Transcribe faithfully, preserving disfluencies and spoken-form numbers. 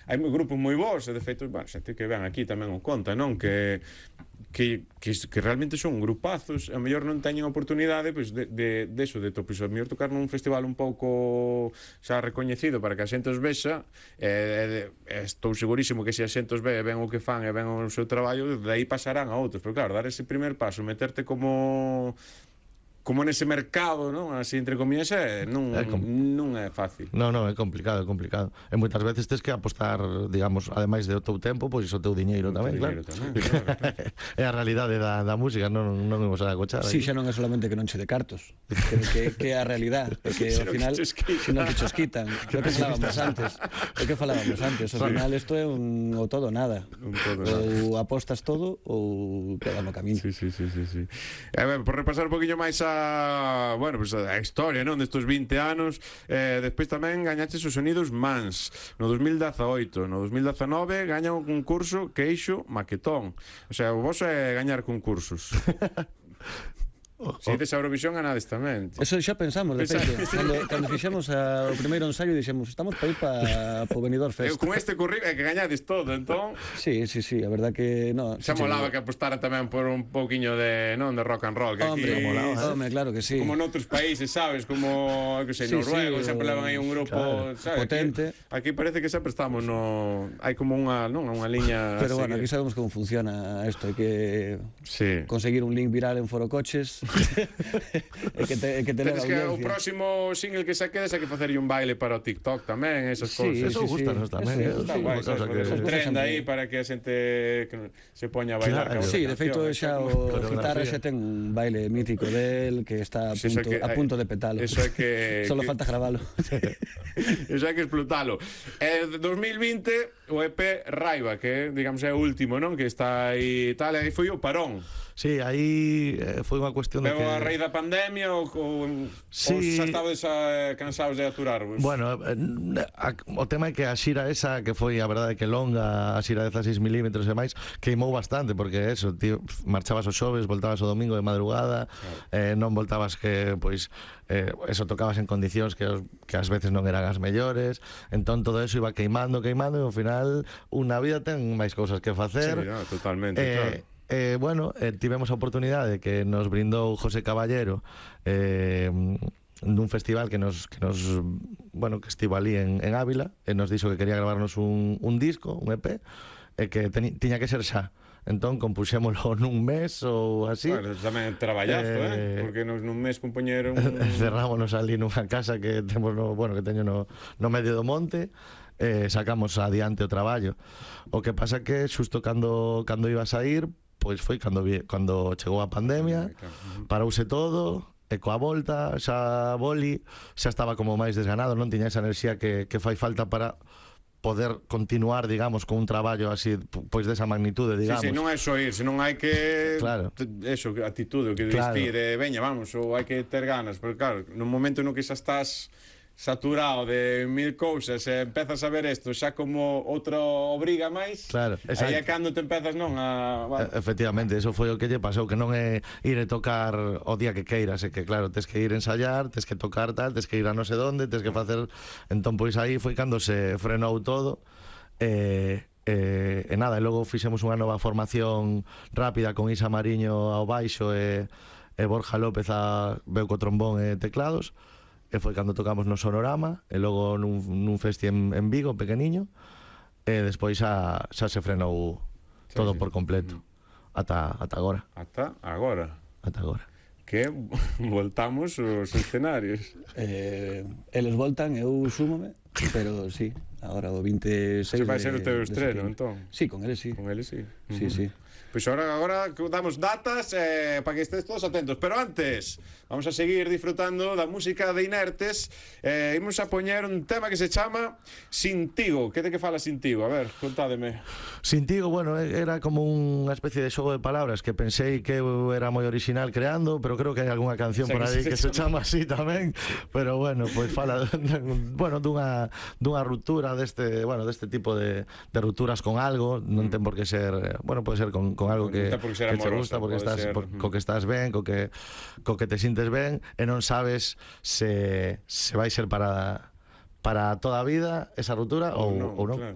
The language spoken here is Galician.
hai grupos moi bons, e de feito, bueno, xente que ven aquí tamén o conta, non? Que que, que, que realmente son grupazos, a mellor non teñen oportunidade pois, de, de, de eso, de to, pois, a mellor tocar nun festival un pouco xa recoñecido para que a xente os vexa, e, e, estou segurísimo que se a xente os ve, ven o que fan e ven o seu traballo, de aí pasarán a outros, pero claro, dar ese primer paso, meterte como como nese mercado, non? Así entre comillas, é, non, é non é fácil. Non, non, é complicado, é complicado. E moitas veces tes que apostar, digamos, ademais do teu tempo, pois o teu diñeiro tamén, claro. Tamén, claro, claro. É a realidade da, da música, non, non imos a acochar. Si, sí, xa non é solamente que non che de cartos, que, que, que é a realidade, porque ao final, se non que chos quitan, o que falábamos antes, o que falábamos antes, ao final isto é un o todo nada. Un todo ou nada. Apostas todo ou queda no camiño. Sí, sí, sí, sí, sí. A ver, por repasar un poquinho máis a bueno, pues a historia, non, destos vinte anos, eh, despois tamén gañaches os Sonidos Mans no dos mil dezaoito, no dos mil dezanove gaña un concurso Queixo Maquetón, o sea, o vos é gañar concursos. Se ides a Eurovisión ganades tamén. Eso xa pensamos, de feito. Cando, cando fixemos a, o primeiro ensaio dixemos, estamos para ir para o Benidorm Fest. Eu con este currículo é que gañades todo, entón. Sí, sí, sí, a verdad que no. Xa molaba que apostara tamén por un pouquiño de, non, de rock and roll, que hombre, aquí molaba, ¿eh? Hombre, claro que sí. Como noutros países, sabes, como, que sei, sí, Noruego, sí, sempre levan aí un grupo, claro, sabes, potente. Aquí, aquí parece que sempre estamos no, hai como unha, non, unha liña. Pero bueno, aquí sabemos como funciona isto, hai que sí. conseguir un link viral en Foro Coches. É que te, é que te Tenes que o próximo single que se quede hai que facerlle un baile para o TikTok tamén, esas sí, cousas. Eso sí, gustanos sí. tamén. Eso, está sí, guai, sí, sabes, que... un trend aí para que a xente que se poña a bailar. Claro. Sí, de feito xa o Guitarra xa ten un baile mítico del que está a punto, sí, que, a punto de petalo. Eso é que solo que... falta gravalo. Eso hai que explotalo. Eh, dos mil vinte o E P Raiva, que digamos é o último, non? Que está aí tal, aí foi o parón. Sí, aí eh, foi unha cuestión de Pero que... a raíz da pandemia ou, ou, sí. ou xa estabades eh, cansados de aturarvos? Bueno, eh, a, o tema é que a xira esa, que foi a verdade que longa, a xira de dezasseis milímetros e máis, queimou bastante, porque eso, tío, marchabas os xoves, voltabas o domingo de madrugada, claro. eh, non voltabas que, pois, eh, eso tocabas en condicións que, os, que ás veces non eran as mellores, entón todo eso iba queimando, queimando, e ao final unha vida ten máis cousas que facer. Sí, no, totalmente, eh, claro. Eh, bueno, eh, tivemos a oportunidade que nos brindou José Caballero eh, nun festival que nos, que nos bueno, que estivo ali en, en Ávila, e nos dixo que quería gravarnos un, un disco, un E P, e que teni, tiña que ser xa. Entón compuxémolo nun mes ou así. Bueno, tamén traballazo, eh, eh porque nos nun mes compoñeron un... cerrámonos ali nunha casa que temos no, bueno, que teño no, no medio do monte. Eh, sacamos adiante o traballo. O que pasa que xusto cando cando iba a sair, pois foi cando vi, cando chegou a pandemia, parouse todo, e coa volta xa boli xa estaba como máis desganado, non tiña esa enerxía que, que fai falta para poder continuar, digamos, con un traballo así, pois desa magnitude, digamos. Sí, sí, non é só ir, senón hai que... Claro. Eso, actitude, o que claro. Diste, de veña, vamos, ou hai que ter ganas, porque claro, no momento no que xa estás saturado de mil cousas e empezas a ver isto xa como outra obriga máis, claro, aí é cando te empezas, non, a... Bueno. Efectivamente, eso foi o que lle pasou, que non é ir e tocar o día que queiras, é que claro, tes que ir a ensayar, tes que tocar tal, tes que ir a non sei donde, tes que facer... Entón, pois aí foi cando se frenou todo, e... E, e nada, e logo fixemos unha nova formación rápida con Isa Mariño ao baixo e, e Borja López a veu co trombón e teclados, e foi cando tocamos no Sonorama, e logo nun, nun festi en, en Vigo, pequeniño, e despois xa, xa se frenou todo sí, sí. por completo, ata, ata agora. Ata agora? Ata agora. Que voltamos os escenarios. Eh, eles voltan, eu súmome, pero sí, agora o veintiséis... Se vai ser o teu de, estreno, de entón? Sí, con eles sí. Con eles sí. Sí, uh -huh. sí. Pois pues agora, agora damos datas eh, para que estés todos atentos. Pero antes, vamos a seguir disfrutando da música de Inertes. eh, Imos a poñer un tema que se chama Sintigo. Que de que fala Sintigo? A ver, contádeme. Sintigo, bueno, era como unha especie de xogo de palabras que pensei que eu era moi original creando, pero creo que hai algunha canción o sea, por aí que, que se, se chama así tamén. Pero bueno, pois pues fala bueno, dunha, dunha ruptura deste, bueno, deste tipo de, de rupturas con algo. Non ten por que ser, bueno, pode ser con, con algo que, que te gusta, porque estás ser... por, co que estás ben, co que, co que te sintes ben, e non sabes se, se vai ser para... para toda a vida esa ruptura ou, ou non, claro.